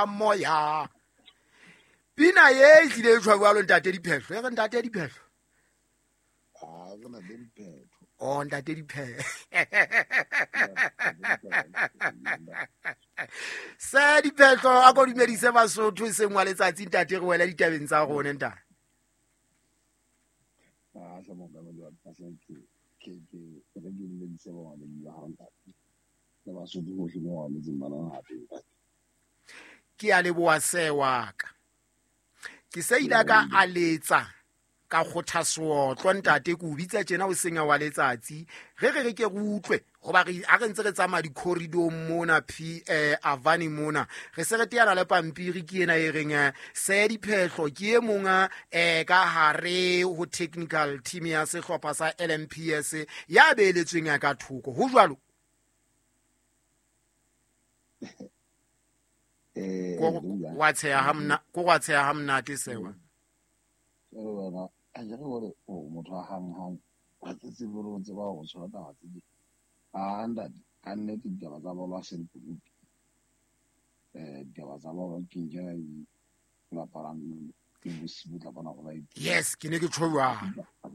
Moya pina ye e tlile e tshwa jwalo, ntate Diphehlo, e re ntate Diphehlo. Ah, ke na le diphetho. O ntate Diphehlo, se Diphehlo, a ko dumedise Basotho e seng wa letsatsi, ntate, re wela ditabeng tsa rona, ntate. Ah, hle mongamedi wa ka, hle ke re ke dumedise bamamedi ba hao, ntate. Le Basotho bohle mo ba mametseng ba lona hape, ntate. Ke a leboha se wa ka, ke se ile ka a letsa ka kgotha seotlo, ntate, ke o bitsa tjena o senya wa letsatsi, re ke re utlwe goba re a re ntse re tsamaya di-corridorng mona p avani mona, re se re teana le pampiri ke ena e reng se Diphehlo ke e mong ka hare ho technical team ya sehlopha sa LMPS ya beeletsweng ya ka thoko ho jwalo. Ko wa tsheha ha mna ko wa tsheha ha monate sewa. Jwale wena, a ke re hore o motho wa hang-hang, ha ke tsebe hore o tseba ho tshwara taba tse ding. Ah, ntate, ka nnete ditaba tsa bolo ha se lekunutu. Ditaba tsa bolo ke nkena di bapalang le bosibu, tla bona hore ba Yes, ke ne ke tjho jwalo. Ha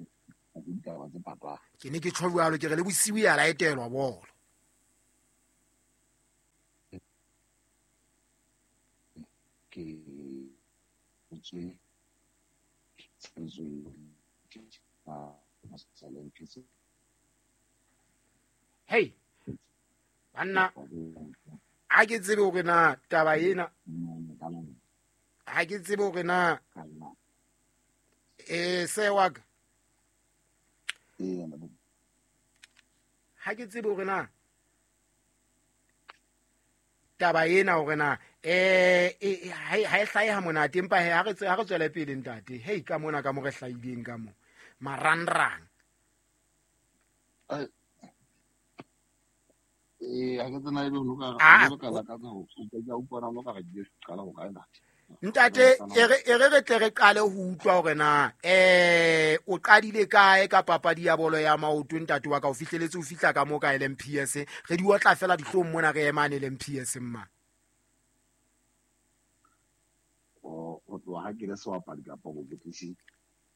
se ditaba tse patwang. Ke ne ke tjho jwalo, ke re le bosiu ya laetelwa bolo. Ke tswe tshebetsong ya. Hey banna, a ke tsebe hore na taba ena, ha ke tsebe hore na se wa ka, ha ke tsebe hore na taba ena hore na ha e hlahe ha monate, empa he ha re tswele pele, ntate. Hei, ka mona ka mo re hlahileng ka mo marangrang. Ha ke tsena ebe ho ka lakatsa ho ka utlwana mo ka re ke qala ho kae, ntate? Ntate, e re re tle re qale ho utlwa hore na o qadile kae ka papadi ya bolo ya maoto, ntate wa ka, o fihleletse o fihla ka mo ka LMPS, re di otla fela dihlong mona re emane LMPS mma. Ho tloha ha ke le sebapadi kapa bokwetlisi?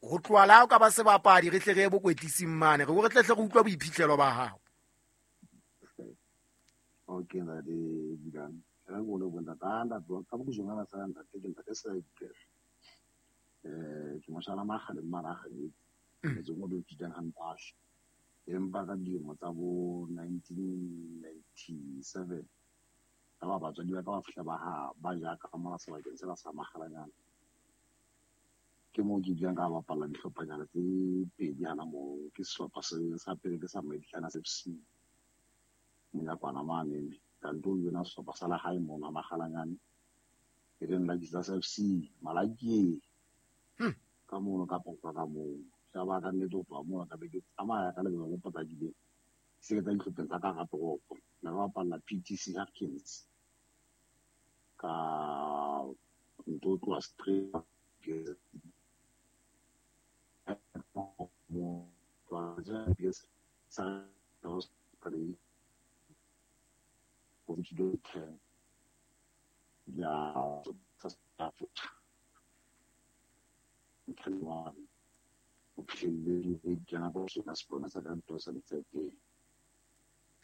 Ho tloha la o ka ba sebapadi, re tle re ye bokwetlising mane, re tle hle re utlwa boiphihlelo ba hao. Okay, ntate Bilane. Re go le bontate, ah, ntate, ka bokujongana sa ntate, ke ntate sa Diphehlo. Ke moshana makgaleng mara motseng o bitswang Hantashe. Empa ka dilemo tsa bo 1997, ka ba batswadi ba ka ba fihla ba ha ba ja ka mona sebakeng sena sa Makgalanyana. Ke moo ke bileng ka bapalla dihlophanyana tse pedi hana moo. Ke sehlopha se sa pele ke sa Meditlana FC. Monyakwana mane, ka nto yona sehlopha sa lehae mona Makgalanyane. E leng la Jesus FC, Malakie. Ka mono ka poka ka moo. Ya ba ka nnete ho tloha moo ka be ke tsamaya ka lebelo le potlakileng. Se ke tsa dihlopheng tsa ka hara toropo. Ne re bapalla PTC Harkins. Ka nto tloha straight sa ya Africa o fihlelle e kena ka sona sepona sa ka ntho sa Letshepeng.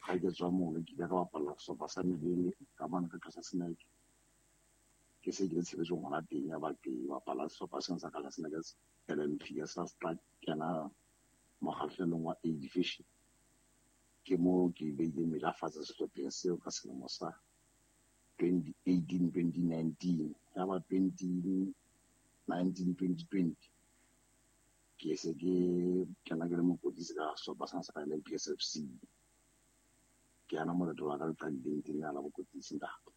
Ha ke tswa mono ke ile ka bapalla sehlopha sa Melele ka mane ka tlasa Seneke. Ke se ke le tshebetsong hona teng, ya ba ke bapala sehlopha sena sa ka la Seneke LMPS sa tla kena mokgahlelong wa A division. Ke moo ke beileng meja fatshe sehlopheng seo ka selemo sa 2018 2019, ya ba 2019 2020 ke se ke kena ke le mokwetlisi ka sehlopha sena sa LMPS FC. Ke yana moleto wa ka le qadileng teng ya la bokwetlisi, ntate.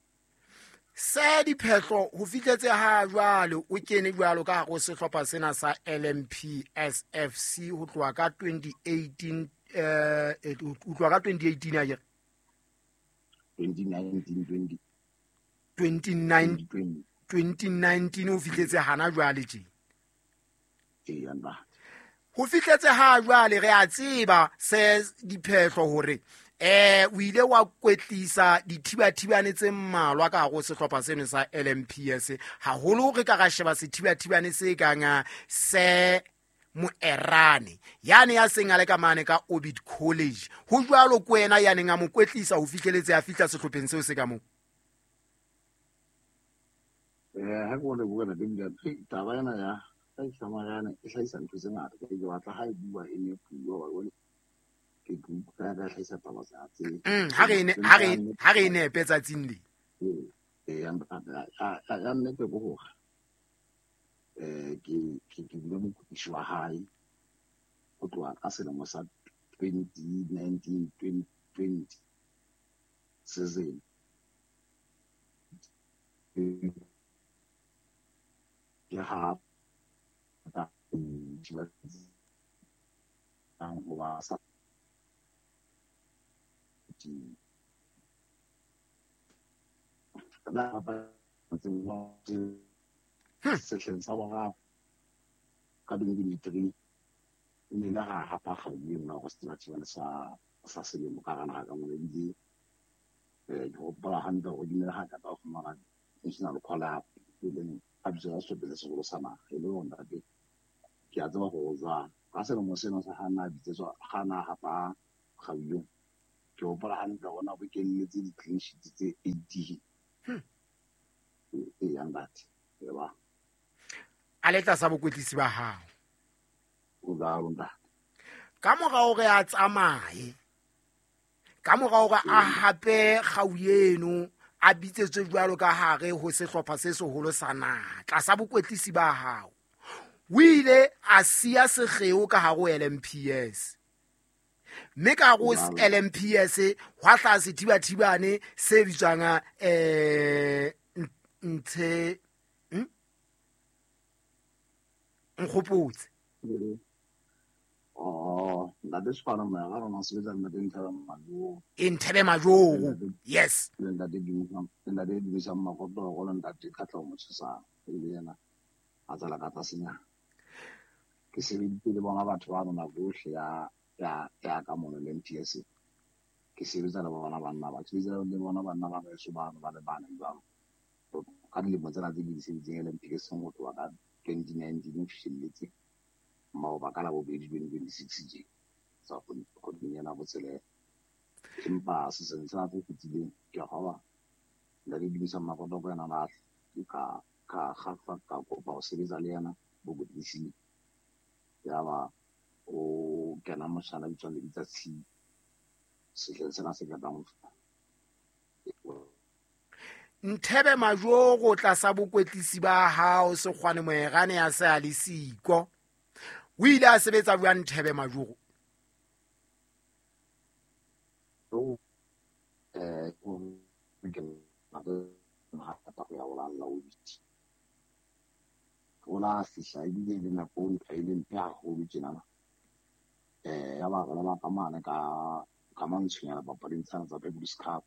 Se Diphehlo, ho fihletse ha jwale o kene jwalo ka hare ho sehlopha sena sa LMPS FC ho tloha ka 2018, ho tloha ka 2018 akere? 2019 20 29 2019 ho fihletse hana jwale tje. Ee, ntate. Ho fihletse ha jwale re a tseba se Diphehlo hore O ile wa kwetlisa dithibathibane tse mmalwa ka hare ho sehlopha seno sa LMPS, haholo re ka ra sheba sethibathibane se kang se Moerane yane ya seng a le ka mane ka Orbit College. Ho jwalo ko wena ya neng a mo kwetlisa ho fihleletse a fihla sehlopheng seo se ka moo? Ha ke o leboha ntate, taba ena ya Moerane e hlahisa ntho tse ngata. Ke batla ha e bua e ne puo ba bone ke ka ka hlahisa taba tsa tse. Ha re nepe tsatsing le. Ya nnete ke hore ke bile mokwetlisi wa hae ho tloha ka selemo sa 2019 2020 season. Ke ha ho ba sa sehleng sa boraro ka 2023 e ne le ra hapa kgau eno go sethibathibane sa selemo ka hara naha ka mona. Ebile ke hopola hantle hore ke ne le ha ka tla fumana national call up, e leng a bitso ya sehlopheng se seholo sa naha. E le hore ntate ke a tseba hore o jwang ka selemo seno sa ha na bitsetswa ha na hapa kgau eo. Ke hopola hantle hore na bokelletse di-clean sheets tse 80. E ntate ba a le tlasa bokwetlisi ba hao. O jwalo ntate. Ka mora hore a tsamaye, ka mora hore a hape kgau eno, a bitsetswe jwalo ka hare ho sehlopha se seholo sa naha tlasa bokwetlisi ba hao, o ile a siya sekgeo ka hare ho LMPS. Mme ka hare ho LMPS hwa hlaha sethibathibane se bitswang ntshe nkgopotse. Ntate Sekgwana Moerane o sebetsa ntate Nthebe Majogo. E Nthebe Majogo, yes. Le ntate Dumisang Makotoro le ntate Katleho Motshesang, e le yena a tsela ka tlasenyana. Ke sebeditse le bona batho ba nako yohle ya ka mono le MPS. Ke sebetsa le bona banna ba, ke sebetsa le bona banna ba beso bano ba le bane jwalo. Ka dilemo tsena tse ke di sebeditseng LMPS ho tloha ka 2019 ho fihlelletse maoba ka la bobedi 2026 tje tsa kgweding ena botshelela. Empa season sena se fetileng ke a kgolwa ntate Dumisang Makotoko yena na ka ka kopa ho sebetsa le yena bokwetlising. Yaba o kena motjhana bitswang Lebitsa Tshipi sehleng sena se qetang ho feta. Nthebe Majogo tlasa bokwetlisi ba hao Sekgwane Moerane ya se a le siko. O ile a sebetsa jwang Nthebe Majogo? O la fihla ebile le nako e le mpe haholo tjenana. Ya ba re ba ka mane ka mantshonyana papading tsena tsa People's Cup,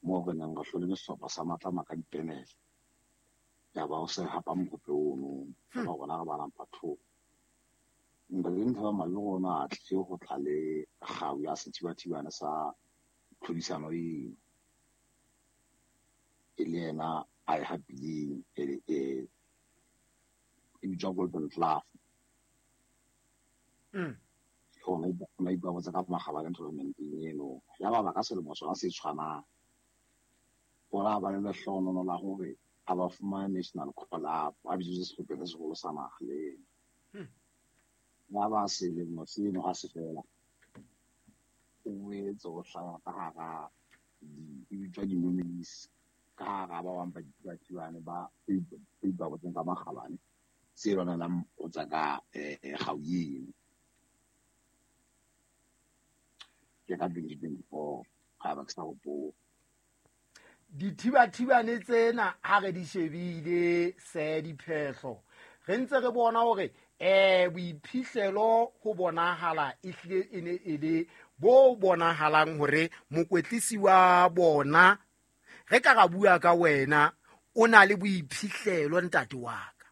moo re neng re hlole ke sehlopha sa Matlama ka dipenele. Ya ba o se hapa mohope ono, ba rona re ba number 2. Ntate Nthebe Majogo ona a tlile ho tla le kgau ya sethibathibane sa tlhodisano eno. E le yena a e hapileng, e bitswa Golden Glove. Ona ipabotse ka makgabane tournamenteng eno. Ya ba ka selemo sona se tshwanang, o la ba le lehlohonolo la hore a ba fumane national call up, a bitswe sehlopheng se seholo sa naha le ena. Ya ba selemo seno ha se fela, o boetse o hlaha ka hara e bitswa di-nominees, ka hara ba bang ba dithibathibane ba ipabotseng ka makgabane se lwanelang ho tswa ka kgau eno. Ke ka 2024 ha ba ke sa hopola. Dithibathibane tsena ha re di shebile se diphehlo, re ntse re bona hore boiphihlelo ho bonahala e hlile e ne e le bo bonahalang hore mokwetlisi wa bona, re ka ra bua ka wena, o na le boiphihlelo ntate wa ka.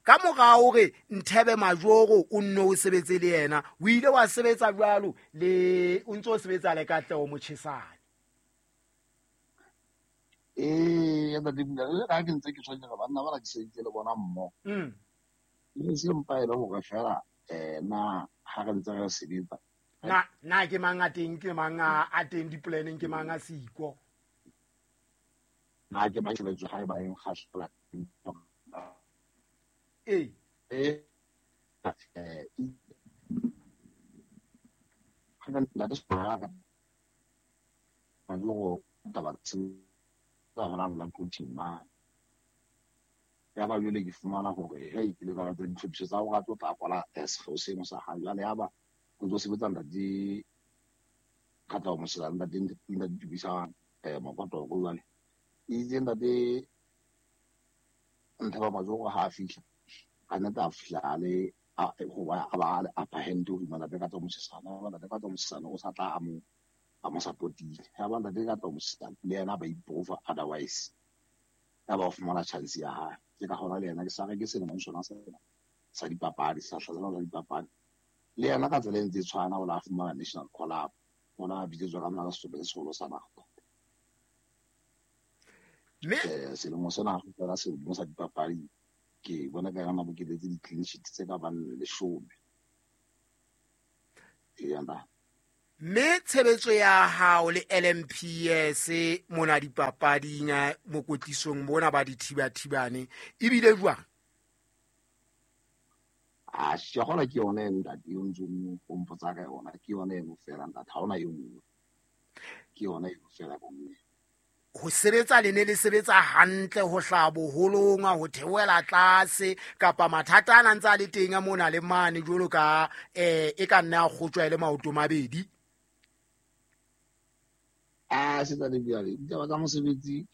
Ka mora hore Nthebe Majoro o nne o sebetse le yena, o ile wa sebetsa jwalo le o ntso o sebetsa le Katleho Mochesane. Ee, ntate Pula, le ha ke ntse ke tshwenya banna bana ke sebeditse le bona mmoho. E se mpa e le hore fela na ha re ntse re sebetsa. Na ke mang a teng, ke mang a teng diplaneng, ke mang a siko? Na ke mang tshebetso ha e ba e nkgahlela. Ee. Ya ba jwale ke fumana hore hei ke le ka tsa ditlhophiso tsa hore a tlo tla kwala sekgeo seno sa hae. Jwale ya ba o ntso sebetsa ntate Katleho Mochesane, ntate Tubisang Mokotoko. Jwale itse ntate Nthebe Majoro ha a fihla, ka nnete a fihla a le a ba a le upper hand hodima ntate Katleho Mochesane. Ya ba ntate Katleho Mochesane o sa tla a mo support-ile. Ya ba ntate Katleho Mochesane le yena ba improve otherwise. Ya ba o fumana chance ya hae. Ke ka hona le yena ke sa re ke selemong sona sena sa dipapadi, sa hlasela sa dipapadi. Le yena ka tsela e ntse e tshwana o la fumana national call up. O la bitsetswa ka mona sehlopha se seholo sa naha. Mme selemo sena fela selemo sa dipapadi ke bona ka yona bokeletse di-clean sheet tse ka bang 10. Ee, nna. Mme tshebetso ya hao le LMPS mona dipapading mokwetlisong mona ba dithibathibane ebile jwang? A ke ke yone ntate eo ntseng o mpotsa ka yona, ke yone eno fela ntate, ha hona e nngwe. Ke yona eno fela ka nnete. Ho sebetsa le ne le sebetsa hantle ho hlaha boholong, ho theohela tlase, kapa mathata a ntse a le teng a mona le mane jwalo ka e ka nna ya kgotjwa e le maoto mabedi? A setsa le bjale ditaba tsa mosebetsi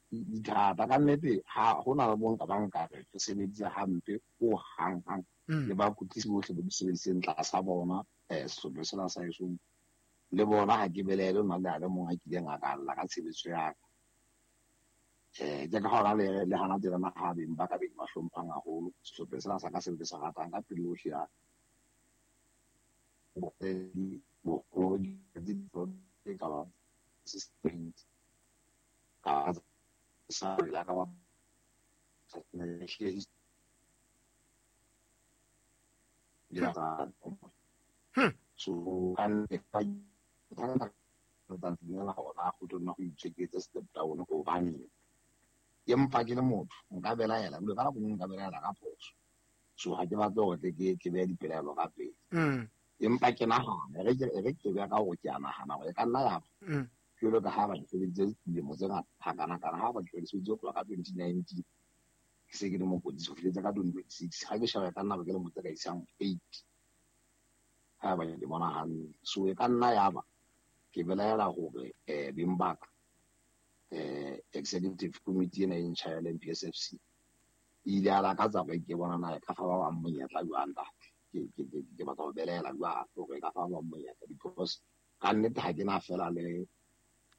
di thata ka nnete. Ha hona le bonka ba nkare re sebeditse hampe ho hang hang le bakwetlisi bohle ba sebeditseng tlasa bona sehlopha sena sa heso. Le bona ha ke belaele nna le a le mong a kileng a ka lla ka tshebetso ya ka. Ke ka hona le hana tjena ha beng ba ka beng ba hlomphang haholo sehlopha sena sa ka seo ke se ratang ka pelo yohle ya ka sa la ka ba so ka nna step down hobane empa ke le motho nka belaela ebile ka nako nngwe nka belaela ka phoso. So ha ke batle hore ke behe dipelaelo ka pele. Empa ke nahana re ke beha ka hore ke a nahana hore e ka nna ya ba jwalo ka ha ba sebeditse dilemo tse ngata hakanakana, ha ba sebeditse ho tloha ka 2019 ke se ke le mokwetlisi ho fihletse ka 2026. Ha ke sheba ka nna ba ke lemo tse ka isang 8 ha ba ke bona hantle. So e ka nna ya ba ke belaela hore beng ba ka executive committee ena e ntjha ya LMPSFC e ile ya lakatsa hore ke bona na e ka fa ba bang monyetla jwang ntate. Ke batla ho belaela jwang hore e ka fa ba bang monyetla, because ka nnete ha ke na fela le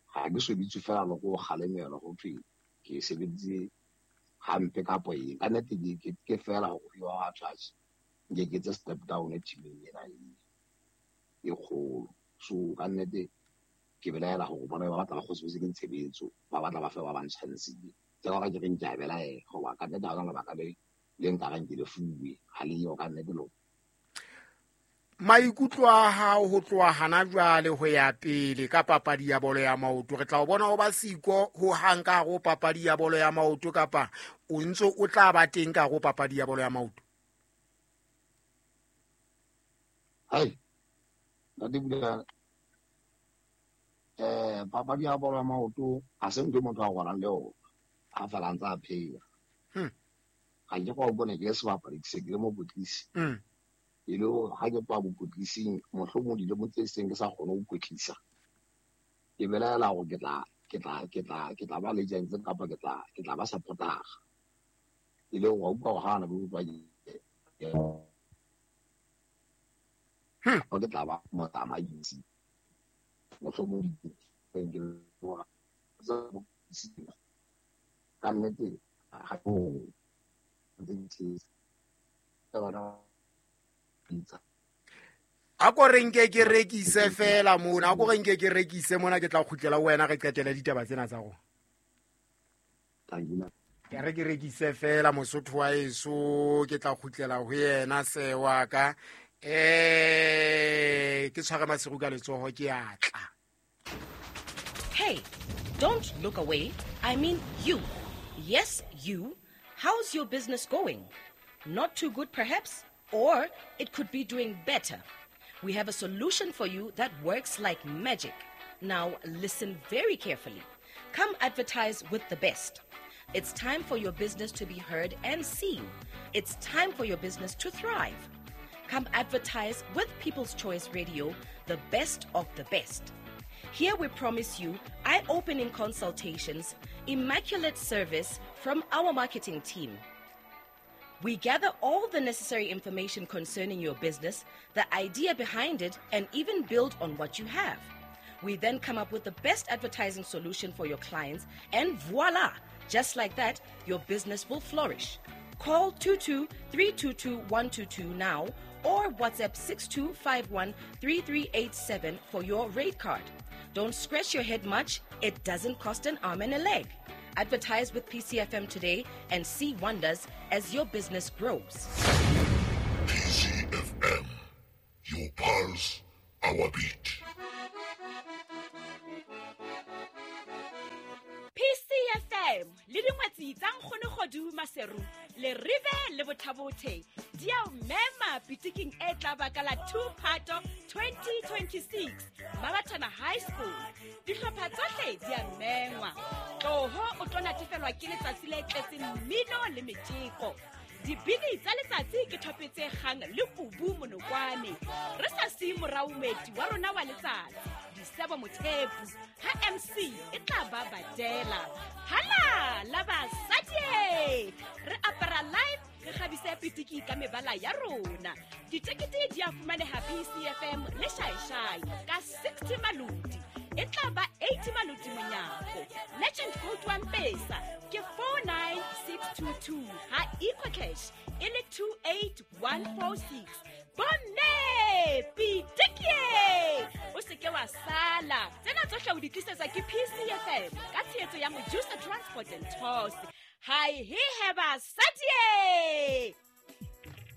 ha ke so bitswe fela le go kgalemelwa ho thwe ke sebeditse hampe kapo eng. Ka nnete ke fela hore wa batho atjhe nke ke etse step down teaming ena e kgolo. So ka nnete ke belaela hore bona ba batla ba kgotsofetse ke tshebetso, ba batla ba fe ba bang chance. Ke ka ke reng ke a belaela hoba ka nnete ha hona lebaka le nkareng ke le fuwe, ha le yo ka nnete lo. Maikutlo a hao ho tloha hana jwale ho ya pele ka papadi ya bolo ya maoto, re tla o bona o ba siko ho hang ka hare ho papadi ya bolo ya maoto, kapa o ntso o tla ba teng ka hare ho papadi ya bolo ya maoto? Hai, ntate Pula, papadi ya bolo ya maoto ha se ntho e motho a robalang le yona ha fela a ntse a phela. Ha ke go bone ke le sebapadi, ke se ke le mokwetlisi. E le hore ha ke tloha bokwetlising, mohlomong dilemong tse seng ke sa kgone ho kwetlisa, ke belaela hore ke tla ba legends kapa ke tla ba supporter. E le hore wa utlwa hore ha na bo utlwa ke tla ba motsamaisi. Mohlomong ka nnete ha A ko re nke ke rekise fela mona, a ko re nke ke rekise mona, ke tla kgutlela ho wena re qetele ditaba tsena tsa rona. Ke re ke rekise fela Mosotho wa eso, ke tla kgutlela ho yena se wa ka. Ke tshware Maseru ka letsoho ke atla. Hey, don't look away. I mean you. Yes, you. How's your business going? Not too good perhaps, or it could be doing better. We have a solution for you that works like magic. Now listen very carefully. Come advertise with the best. It's time for your business to be heard and seen. It's time for your business to thrive. Come advertise with People's Choice Radio, the best of the best. Here we promise you eye-opening consultations, immaculate service from our marketing team. We gather all the necessary information concerning your business, the idea behind it, and even build on what you have. We then come up with the best advertising solution for your clients, and voila! Just like that, your business will flourish. Call 22-322-122 now or WhatsApp 6251-3387 for your rate card. Don't scratch your head much. It doesn't cost an arm and a leg. Advertise with PCFM today and see wonders as your business grows. PCFM, your pulse, our beat. PCFM le dingwetsi tsa Nkgono Kgodu Maseru le Rive le Bothabothe di a o mema pitiking e tla baka la 2 Phato 2026 Mabathana High School. Dihlopha tsohle di a mengwa. Tloho o tlo natefelwa ke letsatsi le tletseng mmino le metjeko. Dibini tsa letsatsi ke thopetse kgang le kubu monokwane. Re sa siye morao moeti wa rona wa letsatsi, Disebo Mothepu, ha MC e tla ba badela. Hala la basadi! Re apara live, re kgabise pitiki ka mebala ya rona. Ditekete di a fumaneha PCFM le Shaishai ka 60 maloti. E tla ba 80 maloti monyako. Legend Gold One Pesa ke 49622 ha EcoCash e le 28146. Bomme pitiki! O se ke wa sala. Tsena tsohle o di tlisetsa ke PCFM ka tshehetso ya Mojusa Transport and Tours. Hi he he basadi!